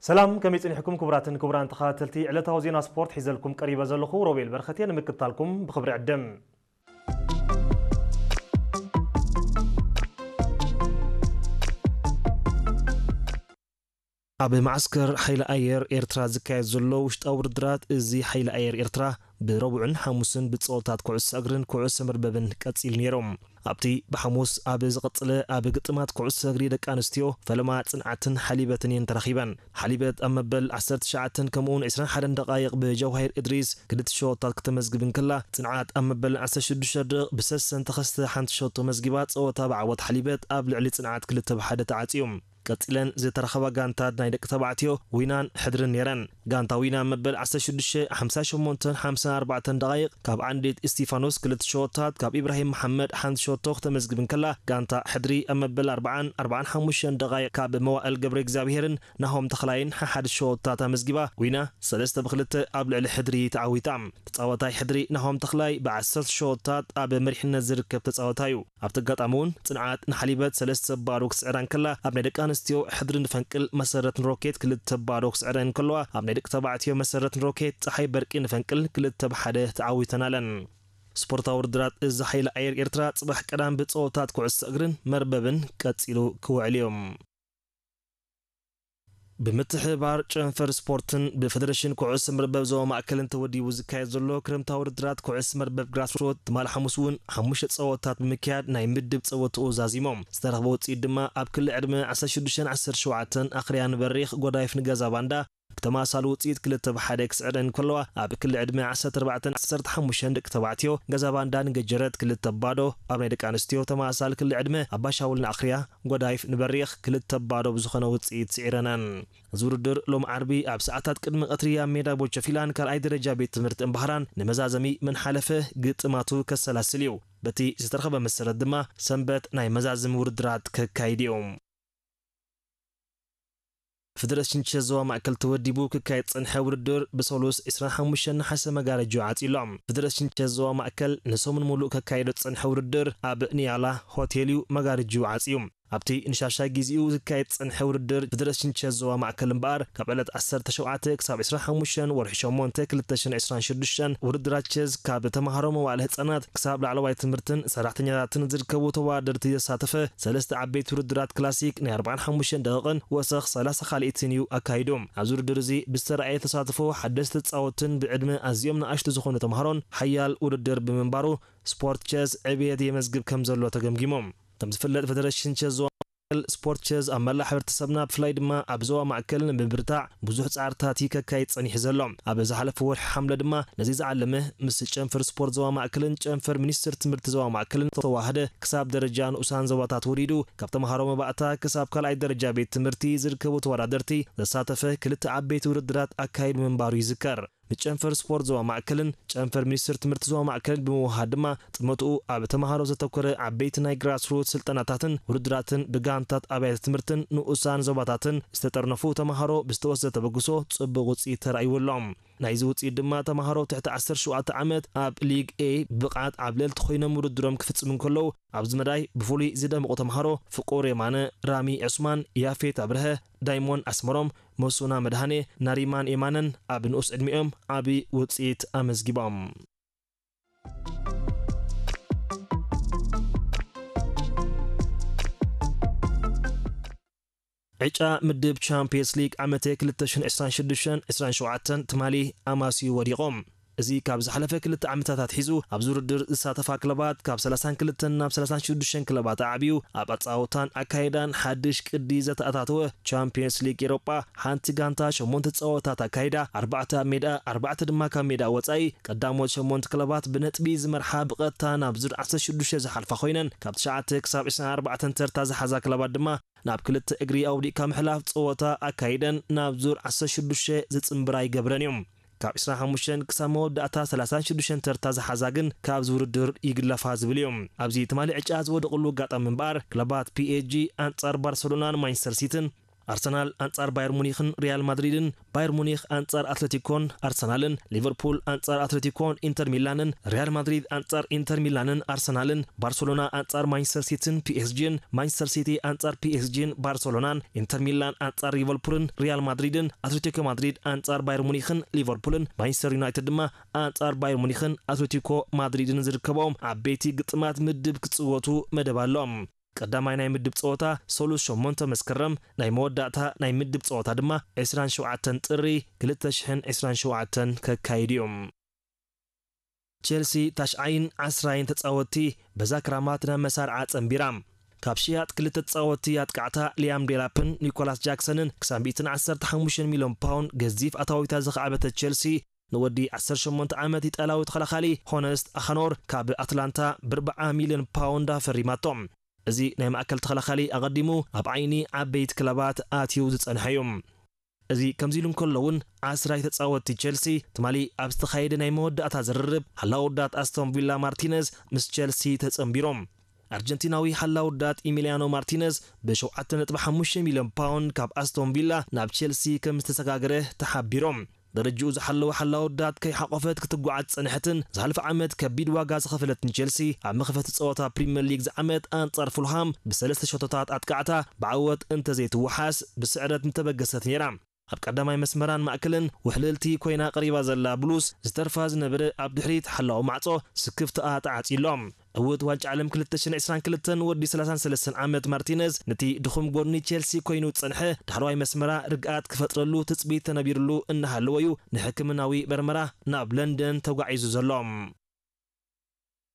ሰላም፣ ከመይ ጸኒሕኩም ክቡራትን ክቡራን ተኸታተልቲ ዕለታዊ ዜና ስፖርት? ሒዘልኩም ቀሪበ ዘለኹ ሮቤል በረኸት እየ። ንምክትታልኩም ብኽብሪ ዕድም። ኣብ መዓስከር ሓይሊ ኣየር ኤርትራ ዝካየድ ዘሎ ውሽጣዊ ውድድራት፣ እዚ ሓይሊ ኣየር ኤርትራ ብረቡዕን ሓሙስን ብጸወታት ኩዕሶ እግርን ኩዕሶ መርበብን ቀጺሉ ነይሩ። ኣብቲ ብሓሙስ ኣብ ዝቐጽለ ኣብ ግጥማት ኩዕሶ እግሪ ደቂ ኣንስትዮ፣ ፈለማ ጽንዓትን ሓሊበትን እየን ተረኺበን። ሓሊበት ኣብ መበል ዓሰርተ ትሽዓተን ከምኡውን ዕስራን ሓደን ደቓይቕ ብጀዋሂር እድሪስ ክልተ ሸቶታት ክተመዝግብ እንከላ፣ ጽንዓት ኣብ መበል ዓሰርተ ሽዱሽተ ደቕ ብሰሰን ተኸስተ ሓንቲ ሸቶ መዝጊባ ጸወታ ብዓወት ሓሊበት ኣብ ልዕሊ ጽንዓት ክልተ ብ ሓደ ተዓጽዩ። ቀጺለን ዝተረኸባ ጋንታት ናይ ደቂ ተባዕትዮ ዊናን ሕድርን ነይረን። ጋንታ ዊና መበል ዓሰርተ ሽዱሽተ ሓምሳ ሸሞንተን ሓምሳ ኣርባዕተን ደቓይቕ ካብ ዓንዲት እስቲፋኖስ ክልተ ሸቶታት ካብ ኢብራሂም መሓመድ ሓንቲ ሸቶ ክተመዝግብ እንከላ፣ ጋንታ ሕድሪ ኣብ መበል ኣርባዓን ኣርባዓን ሓሙሽተን ደቓይቕ ካብ መዋእል ገብረ እግዚኣብሄርን ናሆም ተኽላይን ሓሓደ ሸቶታት ኣመዝጊባ፣ ዊና ሰለስተ ብክልተ ኣብ ልዕሊ ሕድሪ ተዓዊታ። ተጻዋታይ ሕድሪ ናሆም ተኽላይ ብዓሰርተ ሸቶታት ኣብ መሪሕነት ዝርከብ ተጻዋታይ እዩ። ኣብቲ ኣጋጣሚ እውን ጽንዓት ንሓሊበት ሰለስተ ባዶ ክትስዕራ እንከላ፣ ኣብ ናይ ደቂ ኣንስትዮ ሕድሪ ንፈንቅል መሰረት ንሮኬት ክልተ ባዶ ክስዕረን እንከለዋ፣ ኣብ ናይ ደቂ ተባዕትዮ መሰረት ንሮኬት ጸሓይ በርቂ ንፈንቅል ክልተ ብ ሓደ ተዓዊተን ኣለን። ስፖርታዊ ውድድራት እዚ ሓይሊ ኣየር ኤርትራ ጽባሕ ቀዳም ብጸወታት ኩዕሶ እግርን መርበብን ቀጺሉ ክውዕል እዩ። ብምትሕብባር ጨንፈር ስፖርትን ብፌደሬሽን ኩዕሶ መርበብ ዞባ ማእከልን ተወዲቡ ዝካየድ ዘሎ ክረምታዊ ውድድራት ኩዕሶ መርበብ ግራስሮት ትማሊ ሓሙስ እውን ሓሙሽተ ጸወታት ብምክያድ ናይ ምድብ ጸወትኡ ዛዚሞም። ዝተረኽበ ውጽኢት ድማ ኣብ ክሊ ዕድመ ዓሰርተ ሽዱሽተን ዓሰርተ ሸውዓተን ኣኽርያ ንበሪኽ፣ ጎዳይፍ ንገዛ ባንዳ ብተመሳሳሊ ውጽኢት ክልተ ብ ሓደ ክስዕረን እንከለዋ፣ ኣብ ክሊ ዕድመ ዓሰርተ ኣርባዕተን ዓሰርተ ሓሙሽተን ደቂ ተባዕትዮ ገዛ ባንዳ ንገጀረት ክልተ ብ ባዶ፣ ኣብ ናይ ደቂ ኣንስትዮ ተመሳሳሊ ክሊ ዕድመ ኣባሻውል ንኣኽርያ፣ ጎዳይፍ ንበሪኽ ክልተ ብ ባዶ ብዝኾነ ውጽኢት ስዒረነን። እዚ ውድድር ሎም ዓርቢ ኣብ ሰዓታት ቅድሚ ቀትሪ ኣብ ሜዳ ቦቸፊላን ካልኣይ ደረጃ ቤት ትምህርቲ እምባህራን ንመዛዘሚ መን ሓለፈ ግጥማቱ ከሰላስል እዩ። በቲ ዝተረኸበ መሰረት ድማ ሰንበት ናይ መዛዘሚ ውድድራት ከካይድ እዩ። ፌደሬሽን ቸዝ ዞባ ማእከል ተወዲቡ ክካየድ ዝጸንሐ ውድድር ብሰሉስ ዕስራን ሓሙሽተን ነሓሰ መጋረጃ ዓጺሉ ኣሎ። ፌደሬሽን ቸዝ ዞባ ማእከል ንሰሙን ሙሉእ ከካይዶ ዝጸንሐ ውድድር ኣብ ኒያላ ሆቴል እዩ መጋረጃ ዓጽዩ። ኣብቲ ንሻሻይ ግዜኡ ዝካየድ ዝጸንሐ ውድድር ፌደሬሽን ቸዝ ዞባ ማእከል እምበኣር፣ ካብ ዕለት ዓሰርተ ሸውዓተ ክሳብ ዕስራን ሓሙሽተን ወርሒ ሸሞንተ ክልተ ሽሕን ዕስራን ሽዱሽተን ውድድራት ቸዝ ካብ ተማሃሮ መዋእለ ህጻናት ክሳብ ላዕለዋይ ትምህርትን ሰራሕተኛታትን ዝርከቡ ተወዳደርቲ ዘሳተፈ ሰለስተ ዓበይቲ ውድድራት ክላሲክ ናይ ኣርባዓን ሓሙሽተን ደቂቕን ወሰኽ ሰላሳ ካልኢትን እዩ ኣካይዱ። ኣብዚ ውድድር እዚ ብዝተረኣየ ተሳትፎ ሓደስቲ ተጻወትን ብዕድመ ኣዝዮም ንኣሽቱ ዝኾኑ ተምሃሮን ሓያል ውድድር ብምንባሩ ስፖርት ቸዝ ዕብየት የመዝግብ ከም ዘሎ ተገምጊሙ። ከም ዝፍለጥ ፌደሬሽን ቸዝ ዞባ ማእከል ስፖርት ቸዝ ኣብ መላእ ሕብረተሰብና ብፍላይ ድማ ኣብ ዞባ ማእከል ንምብርታዕ ብዙሕ ጻዕርታት እዩ ከካይድ ጸኒሑ ዘሎ። ኣብ ዝሓለፈ ወርሒ ሓምለ ድማ ነዚ ዝዓለመ ምስ ጨንፈር ስፖርት ዞባ ማእከልን ጨንፈር ሚኒስትር ትምህርቲ ዞባ ማእከልን ተዋህደ ክሳብ ደረጃ ንኡሳን ዞባታት ወሪዱ ካብ ተምሃሮ መባእታ ክሳብ ካልኣይ ደረጃ ቤት ትምህርቲ ዝርከቡ ተወዳደርቲ ዘሳተፈ ክልተ ዓበይቲ ውድድራት ኣካይዱ ምንባሩ ይዝከር። ንጨንፈር ስፖርት ዞባ ማእከልን ጨንፈር ሚኒስትር ትምህርቲ ዞባ ማእከልን ብምውሃድ ድማ ጥመትኡ ኣብ ተምሃሮ ዘተኮረ ዓበይቲ ናይ ግራስሩት ስልጠናታትን ውድድራትን ብጋንታት ኣብያተ ትምህርትን ንኡሳን ዞባታትን ዝተጠርነፉ ተምሃሮ ብዝተወሰደ ተበግሶ ጽቡቕ ውጽኢት ተራእይዎም ኣሎ። ናይዚ ውጽኢት ድማ ተምሃሮ ትሕቲ ዓሰርተ ሸውዓተ ዓመት ኣብ ሊግ ኤ ብቕዓት ዓብለልቲ ኮይኖም ውድድሮም ክፍጽሙ እንከለዉ፣ ኣብዚ መዳይ ብፍሉይ ዝደምቑ ተምሃሮ ፍቁር የማነ፣ ራሚ ዑስማን፣ ያፌት ኣብርሀ፣ ዳይሞን ኣስመሮም፣ መሱና መድሃኔ፣ ናሪማን የማነን ኣብ ንኡስ ዕድሚኦም ዓቢ ውጽኢት ኣመዝጊቦም። ዕጫ ምድብ ቻምፕየንስ ሊግ ዓመተ ክልተ ሽሕን ዕስራን ሽዱሽተን ዕስራን ሸውዓተን ትማሊ ኣማስዩ ወዲቖም። እዚ ካብ ዝሓለፈ ክልተ ዓመታት ኣትሒዙ ኣብዚ ውድድር ዝሳተፋ ክለባት ካብ ሰላሳን ክልተን ናብ ሰላሳን ሽዱሽተን ክለባት ኣዕብዩ ኣብ ኣጻወታን ኣካይዳን ሓድሽ ቅዲ ዘተኣታተወ ቻምፕየንስ ሊግ ኤሮጳ ሓንቲ ጋንታ ሸሞንተ ጸወታት ኣካይዳ ኣርባዕተ ኣብ ሜዳ ኣርባዕተ ድማ ካብ ሜዳ ወጻኢ ቀዳሞት ሸሞንተ ክለባት ብነጥቢ ዝመርሓ ብቐጥታ ናብ ዙር ዓሰርተ ሽዱሽተ ዝሓልፋ ኮይነን ካብ ትሽዓተ ክሳብ ዕስራን ኣርባዕተን ተርታ ዝሓዛ ክለባት ድማ ናብ ክልተ እግሪ ኣውዲቕካ ምሕላፍ ጸወታ ኣካይደን ናብ ዙር ዓሰርተ ሽዱሽተ ዝጽንብራ ይገብረን እዩ። ካብ ዕስራን ሓሙሽተን ክሳብ መወዳእታ ሰላሳን ሽዱሽተን ተርታ ዝሓዛ ግን ካብዚ ውድድር ይግለፋ ዝብል እዩ። ኣብዚ ትማሊ ዕጫ ዝወደቕሉ ኣጋጣሚ እምበኣር ክለባት ፒ ኤስ ጂ ኣንጻር ባርሰሎናን ማንቸስተር ሲቲን ኣርሰናል ኣንጻር ባየር ሙኒኽን ሪያል ማድሪድን፣ ባየር ሙኒኽ ኣንጻር ኣትለቲኮን ኣርሰናልን፣ ሊቨርፑል ኣንጻር ኣትለቲኮን ኢንተር ሚላንን፣ ሪያል ማድሪድ ኣንጻር ኢንተር ሚላንን ኣርሰናልን፣ ባርሰሎና ኣንጻር ማንቸስተር ሲቲን ፒኤስጂን፣ ማንቸስተር ሲቲ ኣንጻር ፒኤስጂን ባርሰሎናን፣ ኢንተር ሚላን ኣንጻር ሊቨርፑልን ሪያል ማድሪድን፣ ኣትሌቲኮ ማድሪድ ኣንጻር ባየር ሙኒኽን ሊቨርፑልን፣ ማንቸስተር ዩናይትድ ድማ ኣንጻር ባየር ሙኒኽን ኣትሌቲኮ ማድሪድን ዝርከቦም ዓበይቲ ግጥማት ምድብ ክጽወቱ መደብ ኣሎ። ቀዳማይ ናይ ምድብ ጸወታ ሰሉስ ሸሞንተ መስከረም፣ ናይ መወዳእታ ናይ ምድብ ጸወታ ድማ ዕስራን ሸውዓተን ጥሪ ክልተ ሽሕን ዕስራን ሸውዓተን ከካይድ እዩ። ቸልሲ ታሽዓይን ዓስራይን ተጻወትቲ በዛ ክራማት ናብ መሳርዓ ጸንቢራ። ካብ ሽያጥ ክልተ ተጻወትቲ ኣጥቃዕታ ሊያም ዴላፕን ኒኮላስ ጃክሰንን ክሳብ ሚእትን ዓሰርተ ሓሙሽተን ሚልዮን ፓውንድ ገዚፍ ኣታዊታ ዘኻዕበተ ቸልሲ፣ ንወዲ ዓሰርተ ሸሞንተ ዓመት ኢጣልያዊ ተኸላኻሊ ሆነስት ኣኻኖር ካብ ኣትላንታ ብኣርብዓ ሚልዮን ፓውንድ ኣፈሪማቶ። እዚ ናይ ማእከል ተኸላኻሊ ኣቐዲሙ ኣብ ዓይኒ ዓበይቲ ክለባት ኣትዩ ዝጸንሐ እዩ። እዚ ከምዚ ኢሉ እንከሎ እውን ዓስራይ ተጻወትቲ ቸልሲ ትማሊ ኣብ ዝተኻየደ ናይ መወዳእታ ዝርርብ ሓላው ዳት ኣስቶን ቪላ ማርቲነዝ ምስ ቸልሲ ተጸንቢሮም። ኣርጀንቲናዊ ሓላው ዳት ኢሚሊያኖ ማርቲነዝ ብ ሸውዓተ ነጥቢ ሓሙሽተ ሚልዮን ፓውንድ ካብ ኣስቶን ቪላ ናብ ቸልሲ ከም ዝተሰጋገረ ተሓቢሮም። ደረጅኡ ዝሓለወ ሓላው ዳት ከይሓቆፈት ክትጓዓዝ ጸንሐትን ዝሓለፈ ዓመት ከቢድ ዋጋ ዝኸፈለትን ቸልሲ ኣብ መኽፈቲ ጸወታ ፕሪምየር ሊግ ዝዓመት ኣንጻር ፉልሃም ብሰለስተ ሸቶታት ኣጥቃዕታ ብዓወት እንተዘይትወሓስ ብስዕረት ምተበገሰት ነይራ። ኣብ ቀዳማይ መስመራን ማእከልን ውሕልልቲ ኮይና ቀሪባ ዘላ ብሉስ ዝተርፋ ዝነበረ ኣብ ድሕሪት ሓላው ማዕጾ ስክፍታኣ ተዓጺ ኣሎ። ዕውት ዋንጫ ዓለም ክልተ ሽሕን ዕስራን ክልተን ወዲ ሰላሳን ሰለስተን ዓመት ማርቲነዝ ነቲ ድኹም ጎድኒ ቸልሲ ኮይኑ ዝጸንሐ ዳሕረዋይ መስመራ ርግኣት ክፈጥረሉ ትጽቢት ተነቢርሉ እናሃለወ እዩ ንሕክምናዊ መርመራ ናብ ለንደን ተጓዒዙ ዘሎ።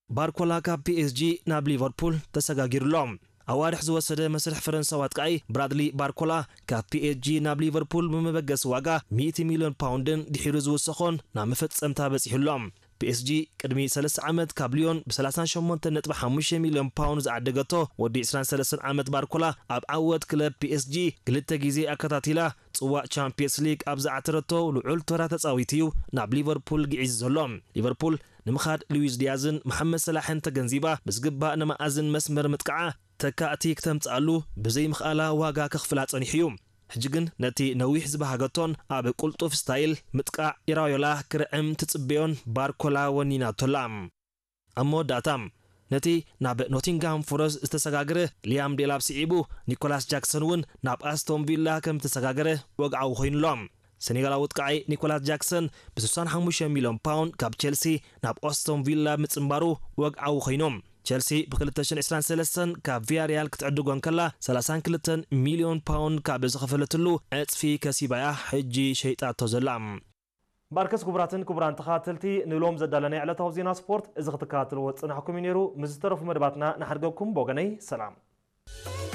ባርኮላ ካብ ፒኤስጂ ናብ ሊቨርፑል ተሰጋጊሩ ኣሎ። ኣዋርሕ ዝወሰደ መስርሕ ፈረንሳዊ ኣጥቃዒ ብራድሊ ባርኮላ ካብ ፒኤስጂ ናብ ሊቨርፑል ብመበገሲ ዋጋ ሚእቲ ሚልዮን ፓውንድን ድሒሩ ዝውሰኾን ናብ መፈጸምታ በጺሑ ኣሎ። ፒኤስጂ ቅድሚ ሰለስተ ዓመት ካብ ሊዮን ብ ሰላሳን ሸሞንተን ነጥቢ ሓሙሽተ ሚልዮን ፓውንድ ዝዓደገቶ ወዲ ዕስራን ሰለስተን ዓመት ባርኮላ ኣብ ዓወት ክለብ ፒኤስጂ ክልተ ግዜ ኣከታቲላ ጽዋእ ቻምፒየንስ ሊግ ኣብ ዝዓተረቶ ልዑል ተራ ተጻዊቱ እዩ ናብ ሊቨርፑል ግዒዙ ዘሎ። ሊቨርፑል ንምኻድ ሉዊስ ዲያዝን መሓመድ ሰላሕን ተገንዚባ ብዝግባእ ንመኣዝን መስመር ምጥቃዓ ተካእቲ ክተምጽኣሉ ብዘይምኽኣላ ዋጋ ከኽፍላ ጸኒሑ እዩ። ሕጂ ግን ነቲ ነዊሕ ዝበሃገቶን ኣብ ቁልጡፍ ስታይል ምጥቃዕ ኢራዮላ ክርዕም ትጽበዮን ባርኮላ ወኒናቶ ኣላ። ኣብ መወዳእታ ነቲ ናብ ኖቲንግሃም ፎረስት ዝተሰጋገረ ሊያም ዴላፕ ስዒቡ ኒኮላስ ጃክሰን እውን ናብ ኣስቶን ቪላ ከም ዝተሰጋገረ ወግዓዊ ኮይኑ ኣሎ። ሰኔጋላዊ ኣጥቃዒ ኒኮላስ ጃክሰን ብ65 ሚልዮን ፓውንድ ካብ ቸልሲ ናብ ኣስቶን ቪላ ምጽንባሩ ወግዓዊ ኮይኑ። ቸልሲ ብ2023 ካብ ቪያሪያል ክትዕድጎ እንከላ ሰላሳን ክልተን ሚልዮን ፓውንድ ካብ ዝኸፈለትሉ ዕጽፊ ከሲባያ ሕጂ ሸይጣቶ ዘላ። ባርከስ ክቡራትን ክቡራን ተኸታተልቲ ንሎም ዘዳለናይ ዕለታዊ ዜና ስፖርት እዚ ክትከታተልዎ ዝጸናሕኩም እዩ ነይሩ። ምስ ዝተረፉ መደባትና ንሓድገኩም ብወገነይ ሰላም።